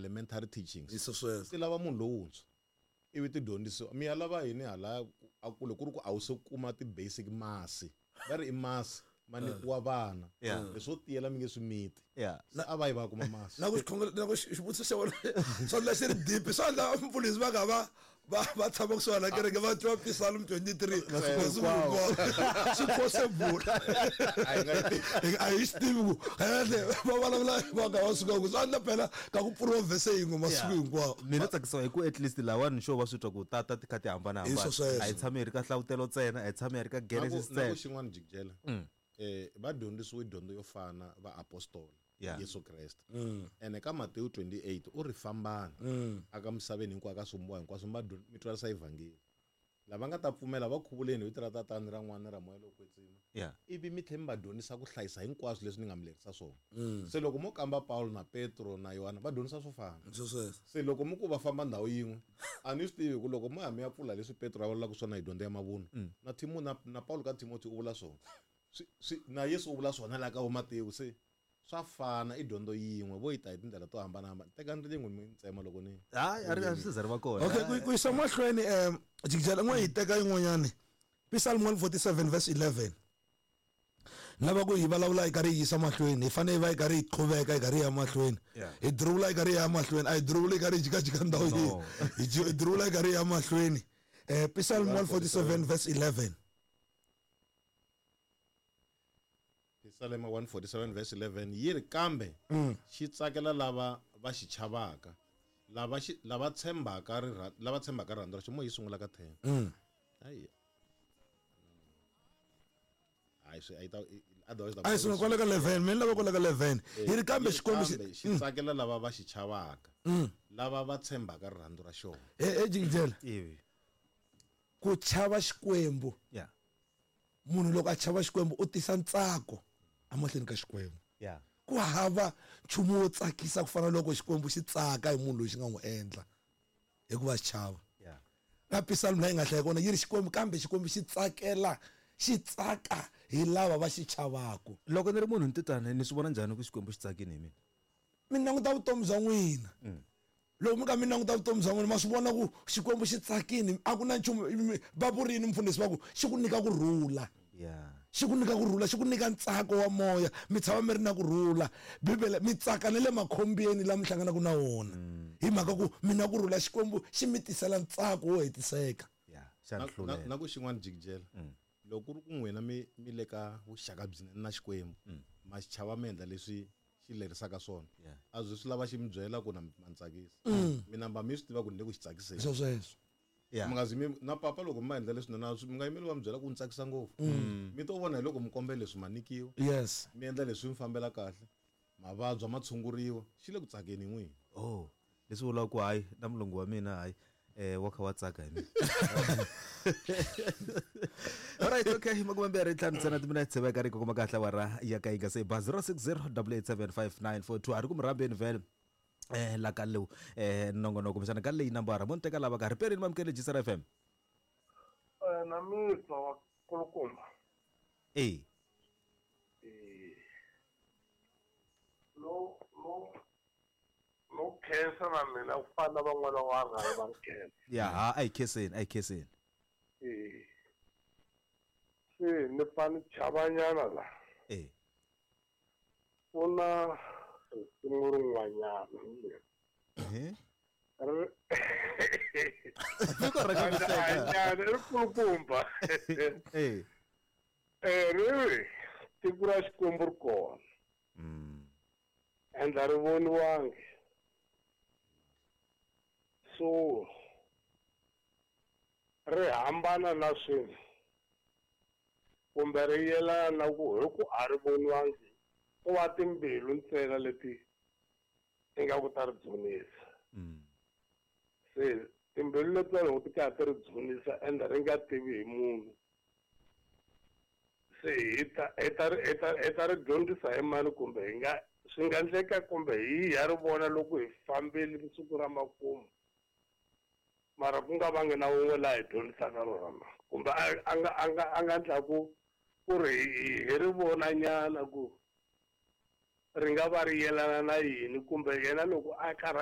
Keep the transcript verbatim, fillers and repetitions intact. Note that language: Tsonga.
elementary teachings Hi swo sweswo. Ti lava munhu lowuntshwa ivi ti dyondzisiwa mi ya lava yini hala a kule ku ri ku a wu se kuma ti-basic masi va ri i masi ma nyikiwa vana Yeah. leswo tiyela mi nge swi miti Yeah. se a va yi va kuma masi Na ku xikhongelo na ku xivutiso xa wena swa ndla xi ri deep swa ndla mfundhisi va nga va va va tshama kusuhani na kereke va twa Psalm twenty-three masiku hinkwawo swi possible A hi nga yi tivi. A hi swi tivi ku kahle va vulavula va nga va suka ku swa ndla phela ka ku pfuriwa verse yin'we masiku hinkwawo. Mina tsakisiwa hi ku at least lawani xo va swi twa ku tata ti kha ti Hi hambanahambana swo sweswo. a hi tshami hi ri ka hlavutelo ntsena a hi tshami hi ri ka Na ku- Genesis na ku ntsena. xin'wana jikijela eh va dyondzisiwe dyondzo yo fana va apostola Yeah. Yesu Kreste ene ka Matewu twenty-eight u ri fambani aka misaveni hinkwayo ka swivumbiwa hinkwaswo mi va dyo- mi twarisa evhangeli lava nga ta pfumela va khuvuleni hi vito ra tatana ra n'wana ra moya lowo kwetsima Yeah. ivi mi tlhela mi va dyondzisa ku hlayisa hinkwaswo leswi ni nga mi lerisa swona se loko mo kamba Paulo na Petro na Yohana va dyondzisa swo fana Swo sweswo. Se loko mi ku va famba ndhawu yin'we a ni swi tivi ku loko mo ya mi ya pfula leswi Petro a vulaka swona hi dyondzo ya mavunwa na Timo na, na Paulo ka Timothy u vula swona swi, swi, na Yesu u vula swona laha ka vo Matewu se swa fana i dyondzo yin'we vo yi ta hi tindlela to hambanahambana tekani rilin'we mi ntsema loko ni Hayi a ri a swi za ri va kona. Okay ku ku yisa mahlweni um jikijela n'we hi teka yin'wanyani Psalm one forty-seven verse eleven lava ku hi vulavula hi karhi hi yisa mahlweni hi fanele hi va hi karhi hi qhuveka hi karhi hi ya mahlweni Yeah. hi diruvula hi karhi hi ya mahlweni a hi diruvuli hi karhi hi jikajika ndhawu No. yin'we hi ji- hi diruvula hi karhi hi ya mahlweni um Psalm one forty-seven verse eleven Psalm one forty-seven verse eleven yi ri kambe xi tsakela lava va xi chavaka lava xi lava tshembaka rirha lava tshembaka rirhandzu ra xi mo yi sungula ka ten ayi hayi swi a yi ta otherwise a yi sungula kwale ka eleven mina lava kwale ka eleven yi ri kambe xikwembu xi xi tsakela lava va xi chavaka lava va tshembaka rirhandzu ra xona e e jikijela Ivi. ku chava xikwembu Yeah. munhu loko a chava xikwembu u tisa ntsako emahlweni ka xikwembu Yeah. ku hava nchumu wo tsakisa ku fana na loko xikwembu xi tsaka hi munhu loyi xi nga n'wi endla hikuva xi chava Yeah. ka Psalm leyi nga hlaya kona yi ri xikwembu kambe xikwembu xi tsakela xi tsaka hi lava va xi chavaku Loko ni ri munhu ni titwa ni swi vona njhani ku Xikwembu xi tsakini hi mina? Mi languta vutomi bya n'wina loko mi ka mi languta vutomi bya n'wina ma swi vona ku xikwembu xi tsakini a ku na nchumu mi- va vurini mfundhisi va ku xi ku nyika ku rhula Yeah. xi ku nyika ku rhula xi ku nyika ntsako wa moya mi tshama mi ri na ku rhula bibele mi tsaka na le makhombyeni lama mi hlanganaka na wona hi mhaka ku mi na ku rhula xikwembu xi mi tisela ntsako wo hetiseka Yeah. Xa na, ni na, hlulela. na ku xin'wana jikijela loko ku ri ku n'wina mi mi le ka vuxaka byinene na xikwembu ma xi chava mi endla leswi xi lerisaka swona Yeah. a byi swi lava xi mi byela ku na ma ni tsakisa mi namba mi swi tiva ku ni le ku xi tsakiseni swo sweswo Yeah. mi nga zi mi na papa loko mi ma endla leswinene a swi- mi nga yimeli va mi byela ku ni tsakisa ngopfu mi to vona hi loko mi kombela leswi ma nyikiwa yes mi endla leswi mi fambela kahle mavabyi ma tshunguriwa xi le ku tsakeni n'wina Oh, leswi vulaka ku hayi na mulungu wa mina hayi eh wa kha wa tsaka hi mina. Alright, okay, makume mbirhi ntlhanu ntsena timinetse va karhi kuma kahle awara ya ka yi nga se ba zero six zero double eight seven five nine four two a ri ku mi rhambeni vhele eh la ka lowu eh nongonoko kumbexana ka leyi nambara mo ni teka lava ka ri perini mamukele G S R F M Eh, na mitwa wa kulukumba eh eh no no no khensa na mina ku fana na van'wana va rhanga va nkhensa ya ha a hi khenseni a hi khenseni eh se ni pfa ni chavanyana la eh ku na risimu rin'wanyana eh ri Tiko ra ka ku hleka. hanyana i kulukumba eh eh ri ri tiko ra Xikwembu ri kona mm and a ri voniwangi so ri hambana na swilo kumbe ri yelana na ku hi ku a ri voniwangi ko va timbilu ntsena leti ingaku ta ri dzunisa mm se timbilu letiya loko ti karhi ti ri dzunisa ende ri nga tivi hi munhu se hi ta hi ta ri hi ta hi ta ri dyondzisa hi mani kumbe hi nga swi nga endleka kumbe hi ya ri vona loko hi fambile siku ra makumu mara ku nga vangi na wun'we laha hi dyondzisaka rona na kumbe a a nga a nga a nga endla ku ku ri hi hi ri vonanyana ku ri nga va ri yelana na yini kumbe yena loko a karhi a hi